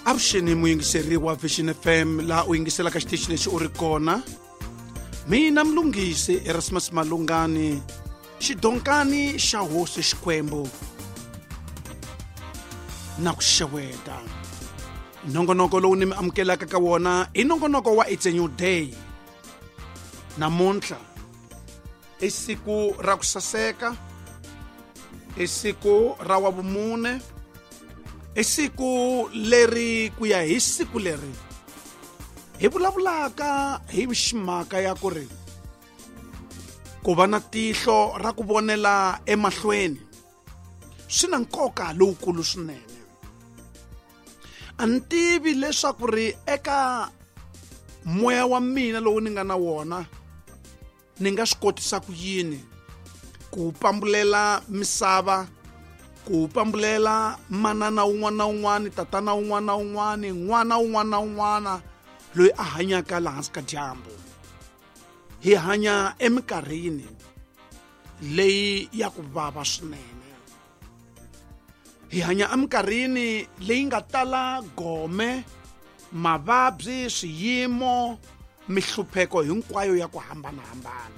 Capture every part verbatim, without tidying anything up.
Avuxeni muyingiseri wa Vision F M laha u yingiselaka xitichi lexi u ri kona. Mina Mlungisi Erasmus Malungani, xidonkani xa hosi Xikwembu na ku xeweta. Nongonoko lowu ni mi amukelaka ka wona i nongonoko wa It's a New Day. Namuntlha i siku ra ku saseka, i siku ra wa vumune, i siku leri ku ya hi siku leri hi vulavulaka hi ximhaka ya ku ri ku va na tihlo ra ku vonela emahlweni swi na nkoka lowukulu swinene. A ni tivi leswaku ri eka moya wa mina lowu ni nga na wona ni nga swi kotisa ku yini ku pambulela misava, ku pambulela manana un'wana na un'wana, tatana un'wana na un'wana, n'wana un'wana na un'wana loyi a hanyaka laha hansi ka dyambu. Hi hanya eminkarhini leyi ya ku vava swinene. Hi hanya eminkarhini leyi nga tala gome, mavabyi, swiyimo, mihlupheko hinkwayo ya ku hambanahambana.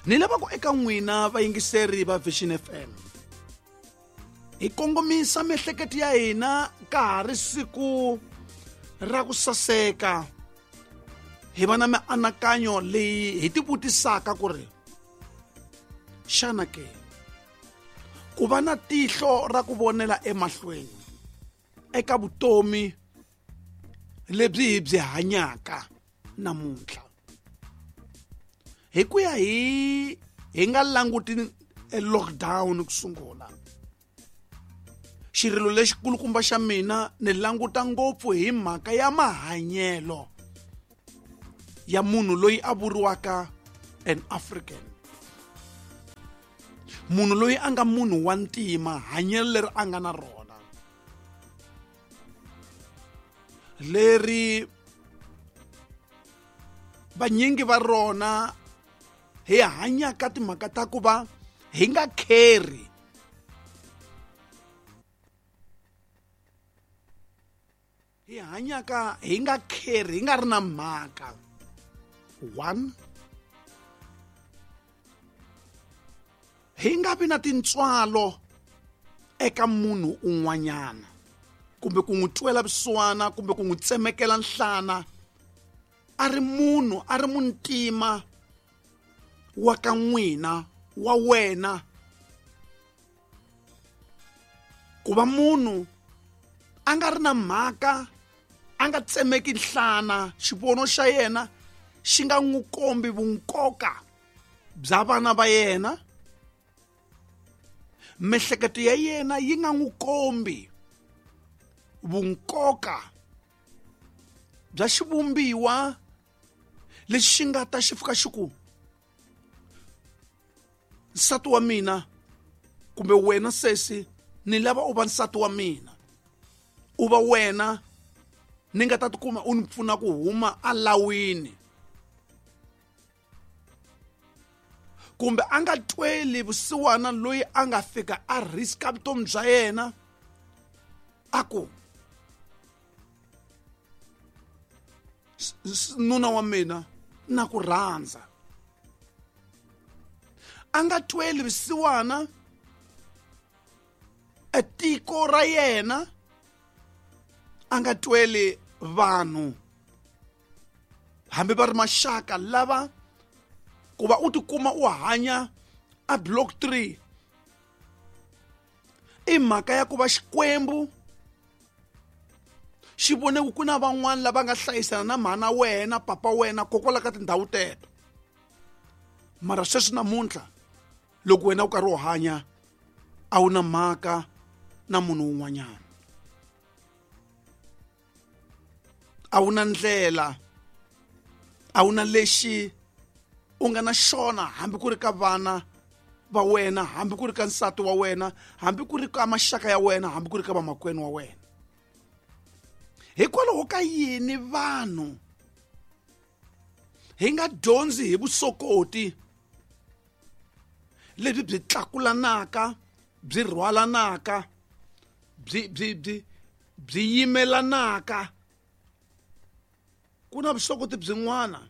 Ni lava ku eka n'wina vayingiseri va Vision F M hi kongomisa miehleketo ya hina ka ha ri siku ra ku saseka, hi va na mianakanyo leyi hi tivutisaka ku ri xana ke ku va na tihlo ra ku vonela emahlweni eka vutomi lebyi hi byi hanyaka namuntlha, hi ku ya hi hi nga languti lockdown ku sungula. Xirilo lexikulukumba xa mina ni languta ngopfu hi mhaka ya mahanyelo ya munhu loyi a vuriwaka an African, munhu loyi a nga munhu wa ntima, hanyelo leri a nga na rona leri vanyingi va rona hi hanyaka timhaka ta ku va hi nga kheri hi hanyaka hi nga kheri hi nga ri na mhaka. One, hi nga vi na tintswalo eka munhu un'wanyana kumbe ku n'wi twela vusiwana kumbe ku n'wi tsemekela nhlana a ri munhu, a ri muntima wa ka n'wina, wa wena. Ku va munhu a nga ri na mhaka, a nga tsemeki nhlana, xivono xa yena xi nga n'wi kombi vunkoka bya vana va yena, miehleketo ya yena yi nga n'wi kombi vunkoka bya xivumbiwa lexi xi nga ta xi fika xi ku nsati wa mina kumbe wena sesi ni lava u va nsati wa mina, u va wena ni nga ta tikuma u ni pfuna ku huma alawini, kumbe a nga tweli vusiwana loyi a nga fika a riska vutomi bya yena a ku nuna wa mina na ku rhandza. A nga tweli vusiwana etiko ra yena, a nga tweli vanhu hambi va ri maxaka lava ku va u tikuma u hanya a block three i mhaka ya ku va Xikwembu xi vone ku na van'wana lava nga hlayisana na mhana wena, papa wena, kokwala ka tindhawu teto. Mara sweswi namuntlha loko wena u karhi u hanya a wu na mhaka na munhu un'wanyana, a wu na ndlela, a wu na lexi u nga na xona hambi ku ri ka vana va wena, hambi ku ri ka nsati wa wena, hambi ku ri ka maxaka ya wena, hambi ku ri ka vamakwenu wa wena. Hikwalaho ka yini vanhu hi nga dyondzi hi vusokoti lebyi byi tlakulanaka, byi rhwalanaka, byi byi byi byi yimelanaka. Ku na vusokoti byin'wana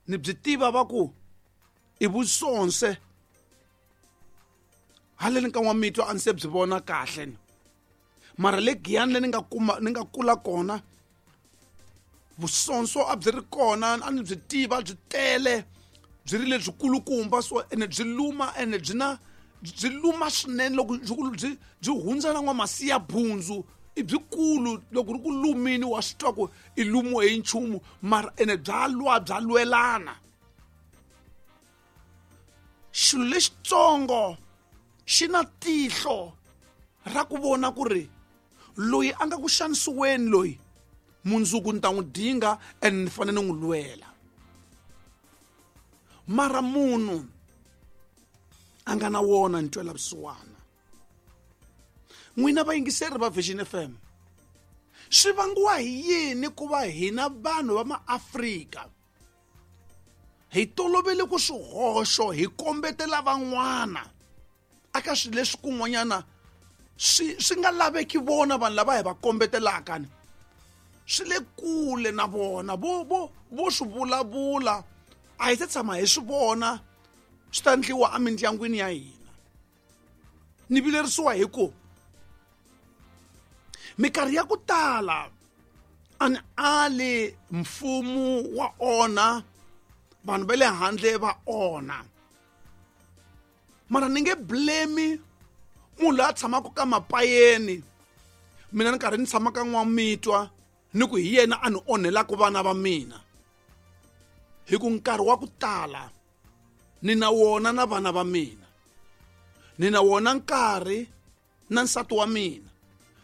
ni byi tiva va ku i vusonse haleni ka N'wamitwa a ni se byi vona kahle ni mara le Giyani le ni nga kuma ni nga kula kona vusonso a byi ri kona, a ni byi tiva byi tele, byi ri lebyi kulukumba so ene byi luma ene byi na byi luma swinene loko byi byi hundza na N'wamasiya bundzu i byikulu loko ri ku lumini wa swi twa ku i lumiwe hi nchumu mara ene bya lwa bya lwelana. Xilo lexitsongo xi na tihlo ra ku vona ku ri loyi a nga ku xanisiweni loyi mundzuku ni ta n'wi dinga and ni fanele ni n'wi lwela. Mara munhu a nga na wona ntwela vusiwana. N'wina vayingiseri va Vision F M, swi vangiwa hi yini ku va hina vanhu va maAfrika hi tolovele ku swihoxo hi kombetela van'wana aka swilo leswi kun'wanyana swi swi nga laveki vona vanhu lava hi va kombetelaka ni swi le kule na vona vo vo vo swi vulavula a hi se tshama hi swi vona swi ta endliwa emindyangwini ya hina. Ni vilerisiwa hi ku minkarhi ya ku tala a ni ali mfumo wa onha, vanhu va le handle va onha, mara ni nge blame munhu loyi a tshamaka ka mapayeni mina ni karhi ni tshama ka N'wamitwa ni ku hi yena a ni onhelaka vana va mina, hi ku nkarhi wa ku tala ni na wona na vana va mina, ni na wona nkarhi na nsati wa mina,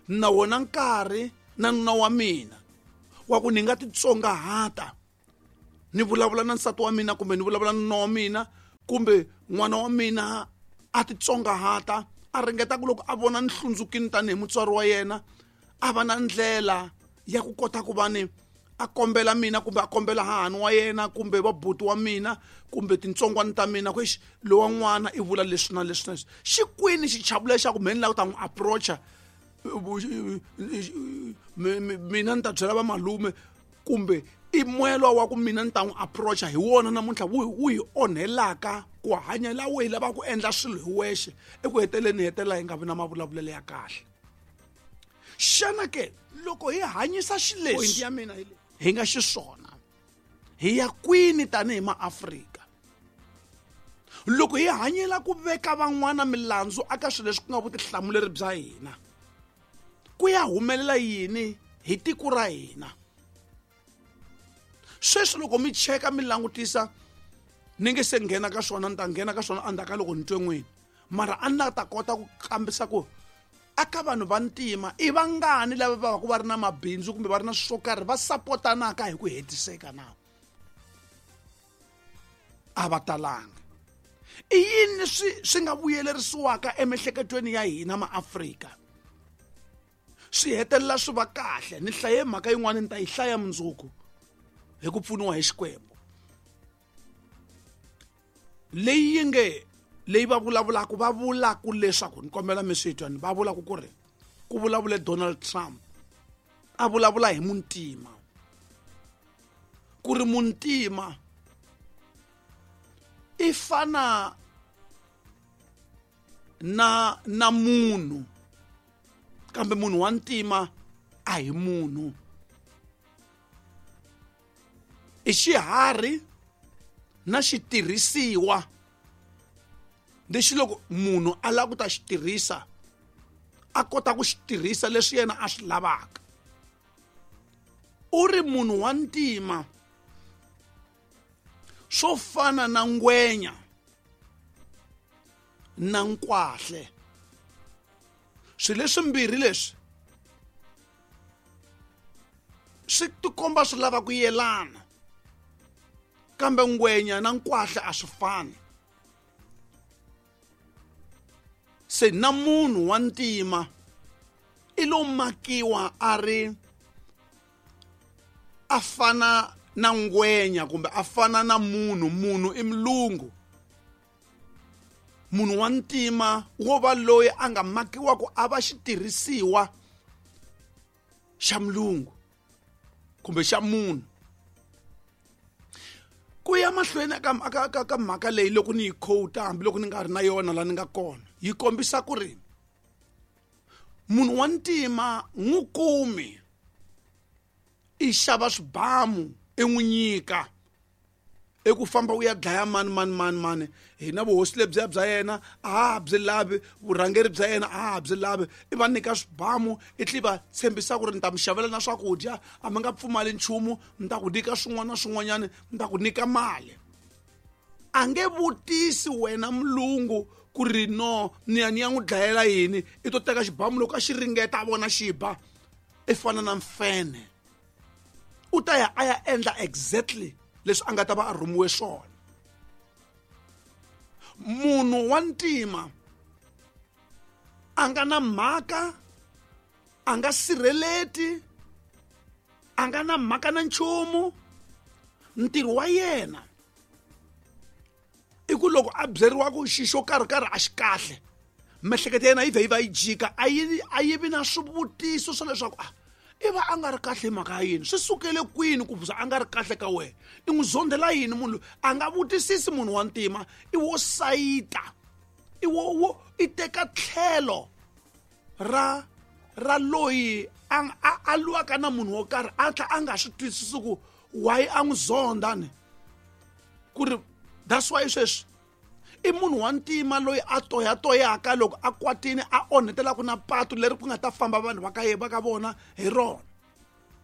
ni na wona nkarhi na nuna wa mina wa ku ni nga titsongahata ni vulavula na nsati wa mina kumbe ni vulavula na nuna wa mina kumbe n'wana wa mina a titsongahata a ringeta ku loko a vona ni hlundzukini tanihi mutswari wa yena a va na ndlela ya ku kota ku va ni a kombela mina kumbe a kombela hahani wa yena kumbe vabuti wa mina kumbe tintsongwana ta mina ku exi lowa n'wana i vula leswi na leswi na leswi. Xi kwini xichavo lexi xa ku mhe ni lava ku ta n'wi approacha mina ni ta byela vamalume kumbe i moya lowa wa ku mina ni ta n'wi approacha hi wona namuntlha wu wu hi onhelaka ku hanya laha hi lavaka ku endla swilo hi wexe eku heteleleni hi hetelela hi nga vi na mavulavulelo ya kahle. Xana ke loko hi hanyisa xileswi ya mina hi nga xiswona hi ya kwini tanihi maAfrika loko hi hanyela ku veka van'wana milandzu aka swilo leswi ku nga vutihlamuleri bya hina, ku ya humelela yini hi tiko ra hina? Sweswi loko mi cheka mi langutisa ni nge se nghena ka swona, ni ta nghena ka swona endzhaku ka loko ni twe n'wini, mara a ni la ta kota ku kambisa ku aka vanhu va ntima i vangani lava va va ku va ri na mabindzu kumbe va ri na swo karhi va sapotanaka hi ku hetiseka na a va talanga. I yini swi swi nga vuyelerisiwaka emiehleketweni ya hina maAfrika swi hetelela swi va kahle? Ni hlaye mhaka yin'wana ni ta yi hlaya mundzuku hi ku pfuniwa hi Xikwembu leyi yi nge leyi va vulavulaka va vulaka leswaku ni kombela mi swi twa ni va vulaka ku ri ku vulavule Donald Trump a vulavula hi muntima ku ri muntima i fana na na munhu kambe munhu wa ntima a hi munhu, i xiharhi na xitirhisiwa lexi loko munhu a lava ku ta xi tirhisa a kota ku xi tirhisa leswi yena a swi lavaka. U ri munhu wa ntima swo fana na ngwenya na nkwahle, swilo leswimbirhi leswi swi tikomba swi lava ku yelana kambe ngwenya na nkwahle a swi fani. Se na munhu wa ntima i lo makiwa a ri a fana na ngwenya kumbe a fana na munhu. Munhu i mulungu, Munhu wa ntima wo va loyi a nga makiwa ku a va xitirhisiwa xa mulungu kumbe xa munhu. Ku ya mahlweni ka ka ka mhaka leyi loko ni yi quote hambiloko ni nga ri na yona la ni nga kona, yi kombisa ku ri munhu wa ntima n'wi kumi i xava swibamu i n'wi nyika i ku famba u ya dlaya mani mani mani mani, hina vuhosi lebyiya bya yena a ha byi lavi, vurhangeri bya yena a ha byi lavi, i va nyika swibamu i tlhe va tshembisa ku ri ni ta mi xavela na swakudya, a mi nga pfumali nchumu, ni ta ku nyika swin'wana na swin'wanyana, ni ta ku nyika mali. A nge vutisi wena mulungu ku ri no ni ya ni ya n'wi dlayela yini, i to teka xibamu loko a xi ringeta a vona xi ba, i fana na mfene, u ta ya a ya endla exactly leswi a nga ta va a rhumiwe swona. Munhu wa ntima a nga na mhaka, a nga sirheleti, a nga na mhaka na nchumu. Ntirho wa yena i ku loko a byeriwa ku xi xo karhi karhi a xi kahle, miehleketo ya yena yi vhe yi va yi jika, a yi a yi vi na swivutiso swa leswaku a i va a nga ri kahle hi mhaka ya yini, swi sukele kwini ku za a nga ri kahle ka wena, i n'wi zondela yini munhu loyi. A nga vutisisi munhu wa ntima, i wo sayita, i wo wo i teka tlhelo ra ra loyi a a a lwaka na munhu wo karhi, a tlhela a nga swi twisisi ku why a n'wi zonda ni ku ri that's why sweswi i munhu wa ntima loyi a toyatoyaka loko a kwatini a onhetelaka na patu leri ku nga ta famba vanhu va ka va ka vona hi rona.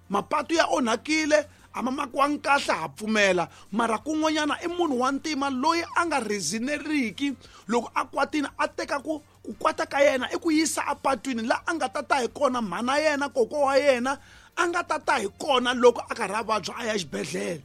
Mapatu ya onhakile, a ma makiwangi kahle, ha pfumela, mara kun'wanyana i munhu wa ntima loyi a nga reasoneriki loko a kwatini, a teka ku ku kwata ka yena i ku yisa apatwini la a nga ta ta hi kona mhana yena, kokwa wa yena a nga ta ta hi kona loko a karhi a vabya a ya xibedhlele.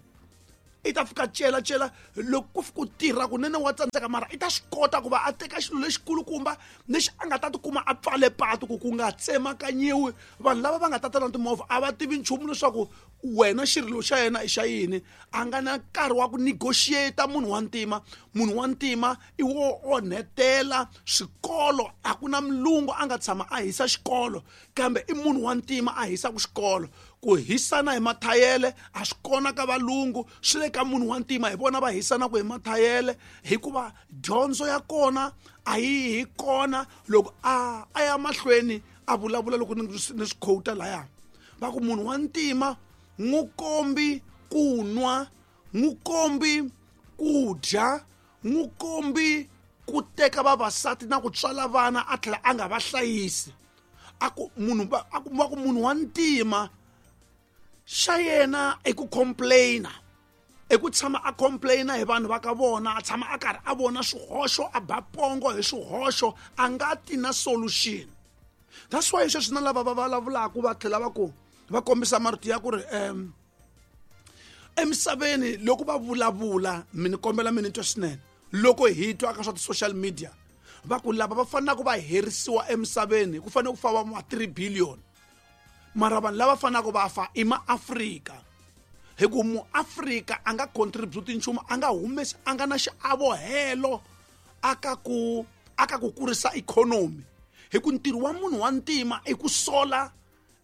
I ta fika cela cela loko ku fika ku tirha kunene wa tsandzeka, mara i ta swi kota ku va a teka xilo lexikulukumba lexi a nga ta tikuma a pfale patu ku ku nga tsemakanyiwi. Vanhu lava va nga ta ta na timovha a va tivi nchumu leswaku wena xirilo xa yena i xa yini, a nga na nkarhi wa ku negotiate munhu wa ntima. Munhu wa ntima i wo onhetela swikolo, a ku na mulungu a nga tshama a hisa xikolo, kambe i munhu wa ntima a hisaka xikolo. Ku hisana hi mathayele a swi kona ka valungu, swi le ka munhu wa ntima, hi vona va hisanaka hi mathayele, hikuva dyondzo ya kona a yi hi kona. Loko a a ya mahlweni a vulavula loko ni swi quote laya, va ku munhu wa ntima n'wi kombi ku nwa, n'wi kombi ku dya, n'wi kombi ku teka vavasati na ku tswala vana a tlhela a nga va hlayisi. A ku munhu va, a ku, va ku munhu wa ntima xa yena i ku complaina, i ku tshama a complaina hi vanhu va ka vona, a tshama a karhi a vona swihoxo, a ba pongo hi swihoxo, a nga ti na solution. That's why sweswi na lava va vulavulaka va tlhela va ku va kombisa marito ya ku ri, um, emisaveni loko va vulavula, mi ni kombela mi ni twa swinene, loko hi twa ka swa ti-social media va ku lava va fanelaka va herisiwa emisaveni ku fanele ku fa va ma three billion, mara vanhu lava fanelaka va fa i maAfrika, hi ku muAfrika a nga contribute nchumu, a nga humesi, a nga na xiavo helo aka ku aka ku kurisa ikhonomi. Hi ku ntirho wa munhu wa ntima i ku sola,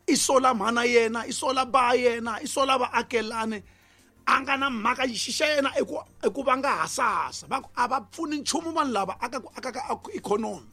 i sola mhana yena, i sola ba yena, i sola vaakelani, a nga na mhaka xi xa yena i ku i ku va nga hasahasa, va ku a va pfuni nchumu vanhu lava aka ku aka ka ikhonomi.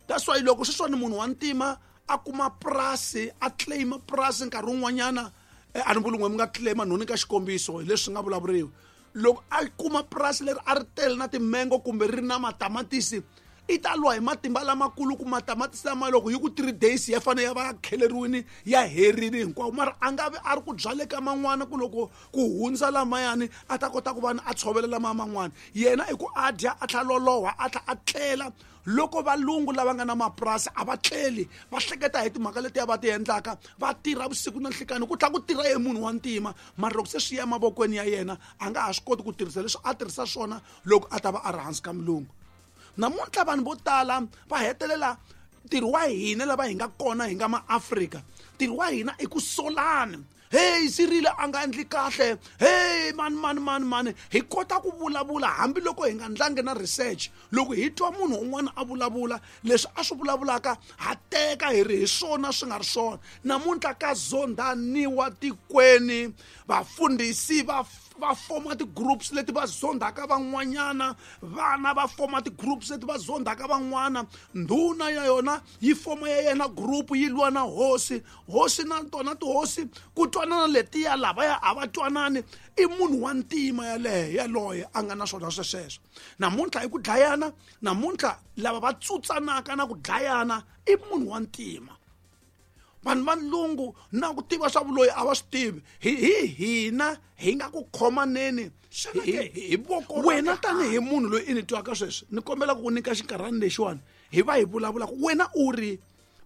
That's why loko sweswiwani munhu wa ntima a kuma purasi, a claim purasi nkarhi wun'wanyana, a ni vuli n'we mi nga claim nhoni ka xikombiso hi leswi nga vulavuriwa, loko a kuma purasi leri a ri tele na timengo kumbe ri na matamatisi, i ta lwa hi matimba lamakulu ku matamatisi lama loko yi ku three days ya fanele ya va ya kheleriwini ya herini hinkwawo, mara a nga vi a ri ku byale ka man'wana ku loko ku hundza lamayani a ta kota ku va a tshovela lama man'wana. Yena i ku a dya a tlhela loloha a tlhela a tlela. Loko valungu lava nga na mapurasi a va tleli, va hleketa hi timhaka letiya va ti endlaka, va tirha vusiku na nhlikani, ku tlhela ku tirha ye munhu wa ntima, mara loko se swi ya emavokweni ya yena a nga ha swi koti ku tirhisa leswi a tirhisa swona loko a ta va a ri hansi ka mulungu. Namuntlha vanhu vo tala va hetelela ntirho wa hina lava hi nga kona hi nga maAfrika, ntirho wa hina i ku solana. Hey, Cyril a nga endli kahle. Hey, mani mani mani mani. Hi kota ku vulavula hambiloko hi nga ndlangi na research. Loko hi twa munhu un'wana a vulavula leswi a swi vulavulaka ha teka hi ri hi swona swi nga ri swona. Namuntlha ka zondhaniwa tikweni, vafundhisi va va foma ti-groups leti va zondhaka van'wanyana, vana va foma ti-groups leti va zondhaka van'wana, ndhuna ya yona yi foma ya yena group yi lwa na hosi, hosi na tona tihosi ku twanana letiya lavaya a va twanani. I munhu wa ntima yaleyo yaloye a nga na swona swesweswo. Namuntlha i ku dlayana, namuntlha lava va tsutsanaka na ku dlayana i munhu wa ntima. Vanhu va lungu na ku tiva swa vuloyi a va swi tivi. Hi hi hina hi nga ku khomaneni hi hi voko. Wena tanihi munhu loyi i ni twaka sweswi, ni kombela ku ku nyika xinkarhana lexiwani hi va hi vulavulaka. Wena u ri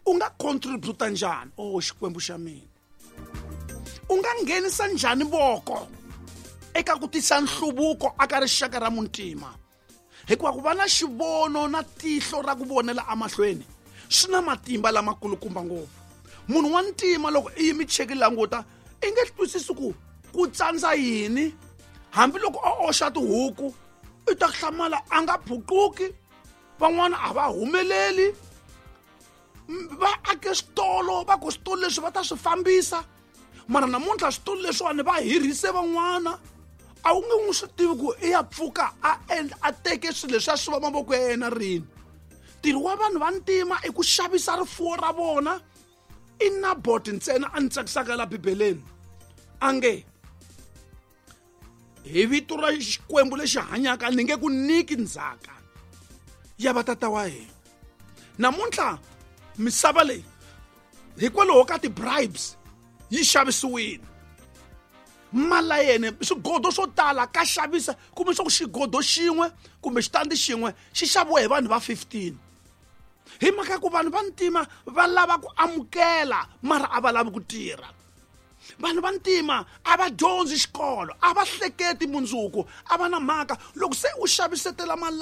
u nga contribute njhani? Oh Xikwembu xa mina, u nga nghenisa njhani voko eka ku tisa nhluvuko aka rixaka ra muntima? Hikuva ku va na xivono na tihlo ra ku vonela emahlweni swi na matimba lamakulukumba ngopfu. Munhu wa ntima loko i yimi cheki languta i nge twisisi ku ku tsandza yini. Hambiloko a oxa tihuku i ta hlamala a nga phuquki, van'wana a va humeleli, va ake switolo, va ku switolo leswi va ta swi fambisa, mara namuntlha switolo leswiwani va hirhise van'wana. A wu nge n'wi swi tivi ku i ya pfuka a endla a teke swilo leswi a swi va mavoko ya yena rini. Ntirho wa vanhu va ntima i ku xavisa rifuwo ra vona. I Nabot ntsena a ni tsakisaka la Bibeleni a nge hi vito ra Xikwembu lexi hanyaka ni nge ku nyiki ndzhaka ya vatata wa hina. Namuntlha misava leyi hikwalaho ka ti-bribes yi xavisiwile. Malayene swigodo swo tala ka xavisa, kumbe swa ku xigodo xin'we kumbe xitandi xin'we xi xaviwa hi vanhu va fifteen. Hi mhaka ku vanhu va ntima va lava ku amukela mara a va lavi ku tirha. Vanhu va ntima a va dyondzi xikolo, a va hleketi mundzuku, a va na mhaka. Loko se u xavisetela